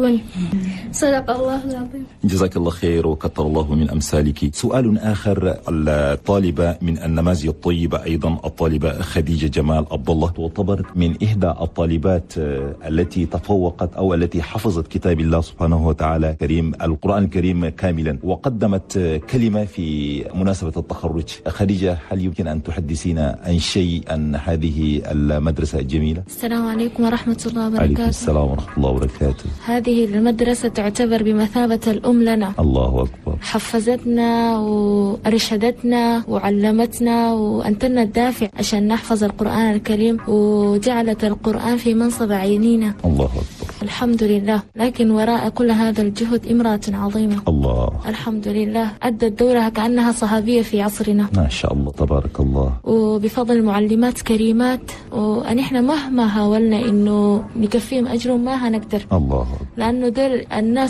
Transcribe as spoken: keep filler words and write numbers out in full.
يعدلون. صدق الله العظيم. جزاك الله خير وكثر الله من أمثالك. سؤال آخر، الطالبة من النماذج الطيبة أيضا، الطالبة خديجة جمال عبد الله، تعتبر من إحدى الطالبات آه، التي تفوقت أو التي حفظت كتاب الله سبحانه وتعالى كريم، القرآن الكريم كاملا، وقدمت آه، كلمة في مناسبة التخرج. خديجة، هل يمكن أن تحدثينا عن شيء عن هذه المدرسة الجميلة؟ السلام عليكم ورحمة الله عليكم وبركاته. السلام ورحمة الله وبركاته. هذه المدرسة تعتبر بمثابة الأم لنا. الله أكبر. حفزتنا وأرشدتنا وعلمتنا وأنتنا الدافع عشان نحفظ القرآن الكريم، وجعلت القرآن في منصب عينينا. الله أكبر. الحمد لله. لكن وراء كل هذا الجهد امرأة عظيمة. الله. الحمد لله، أدت دورها كأنها صحابية في عصرنا. ما شاء الله، تبارك الله. وبفضل معلمات كريمات، ونحن مهما حاولنا إنه نكفيهم أجرهم ما هنقدر. الله أكبر. لأنه دول الناس.